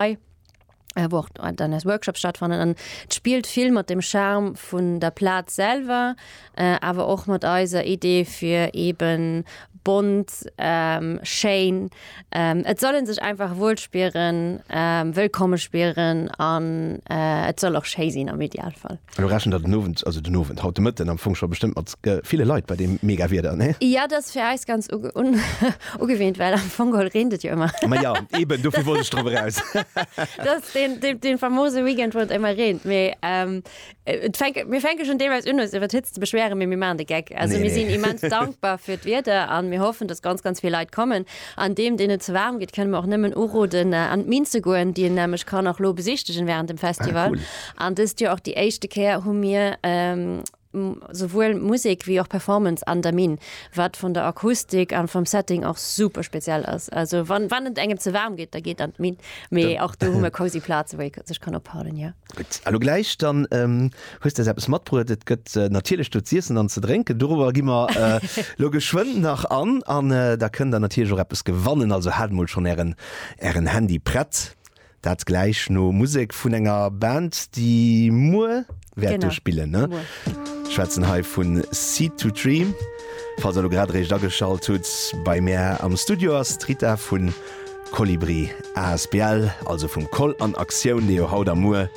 Wou och dann eis Workshops stattfannen. An et spillt vill mat dem Charme vun der Plaz selwer, awer och mat eiser Idee fir eben bont, schéin. Et soll ee sech einfach wuel spieren, wëllkomme spieren an et soll och schéi sinn am Idealfall. Elo rechent der den Owend, also den Owend, haut de Mëtten am Fong scho bestëmmt mat ville Leit bei deem mega Wieder, nee? Jo, dat ass fir eis ganz ugewinnt, well am Fong geholl reent et jo ëmmer. Ma jo, eben, dofir wollt ech drop eraus. Dat ass deen, deen, deen famose Weekend, wou et ëmmer reent. Mee et fänke, mir fänke schonn deelweis un, eis iwwer d'Hëtzt ze beschweren, mee mir maachen de Geck. Also mir sinn immens dankbar fir d'Wieder an mir hoffen, dass ganz, ganz vill Leit kommen. An deem, deen et ze waarm gëtt, kënne mer och nëmmen uroden, an d'Minn ze goen, déi een nämlech kann och lo besichtegen während dem Festival. An dëst Joer och déi éischte Kéier hu mir souwuel Musek wéi och Performance an der Minn, wat vun der Akustik an vum Setting och super speziell ass. Also wann wann et engem ze waarm geet, da geet an d'Minn. Mee och do hu mer cozy Plaze wou ee sech kann ophalen, jo. Gutt, a lo gläich dann hues de eis eppes matbruet. Et gëtt natierlech do z'iessen an ze drénken. Dorobber gi mer lo geschwënn nach an. An da kënnt der natierlech och eppes gewannen. Also haalt mol schonn ären ären Handy prett. Dat gläich no Musek vun enger Band, déi muer wäert do spillen, ne? Schwätzen hei vu Seed to Tree. Falls der lo grad eréischt ageschalt hutt, bei mär am Studio ass d'Rita vu Kolibri asbl, also vum Koll an Aktioun, dee jo haut a muer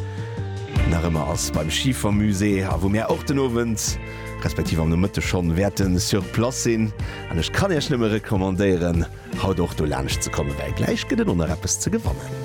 nach ëmmer ass beim Schifermusée a wou mär och den Owend, respektiv am Nomëtteg schonn, wäerte sur place sinn. An ech kann iech nëmme recommandéieren, haut och do laanscht ze kommen, well gläich gëtt et och nach eppes ze gewannen.